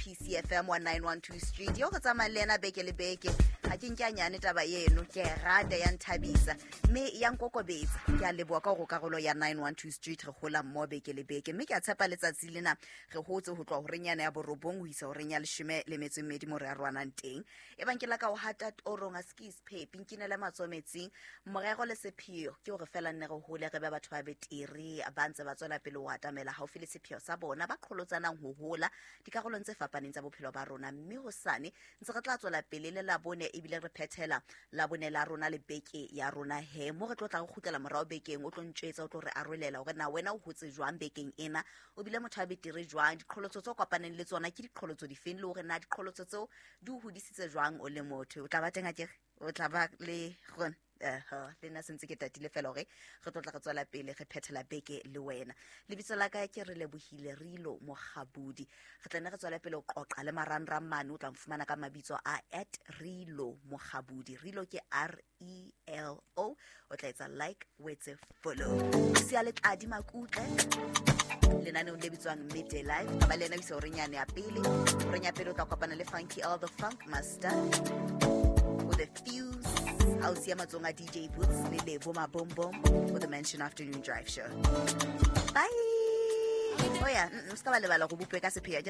PCFM 1912 Street yo re tsamayang le ena beke le beke. Ga ke nke a nyane taba eno, ke e rata, ya nthabisa mme ya nkokobetsa. Ke a leboa ka gore karolo ya 912 Street re gola mmo beke le beke, mme ke a tshepa letsatsi lena re hotse ho tloha horeng yana ya 9 ho isa horeng ya 12 mo re arohanang teng. E bang ke la ka o hata torong, a se ke isephepi, nkinele matsoho metsing. Morero le sepheo ke hore fela nne re hole, re be batho ba betere ba ntse ba tswela pele ho atamela haufi le sepheo sa bona, ba qholotsanang ho hola dikarolong tse fapaneng tsa bophelo ba rona. Mme hosane ntse re tla tswela pele le Labone, ebile re phethela Labone la rona le beke ya rona he mo re tlo tla re kgutlela morao bekeng. O tlo ntjwetsa, o tlo re arolela hore na wena o hotse jwang bekeng ena, o bile motho a betere jwang, diqholotso tse o kopaneng le tsona ke diqholotso difeng, le hore na diqholotso tseo di o hodisitse jwang o le motho. O tla ba teng akere? O tla ba le gona le nna sentse ke tatile fela gore re tlo tla re tswela pele re phethela beke le wena. Lebitso la ka ke re lebohile Rilo Mogabudi. Re tla nne re tswela pele ho qoqa le marangrang mane. O tla mfumana ka mabitso a @RiloMogabudi. Rilo ke RELO. O tla etsa like, o etse follow. Sia le tladi makutle lenaneong le bitswang Midday Life. Ba le ena o isa horeng yane ya pele. Horeng ya pele o tla kopana le Funky L the Funk Master o the Fuse a o siya matsong a DJ Boots le Lebo Mabombom o the Mansion Afternoon Drive Show. Bye. Oh yeah, o se ka ba lebala go bopwe ka sephea.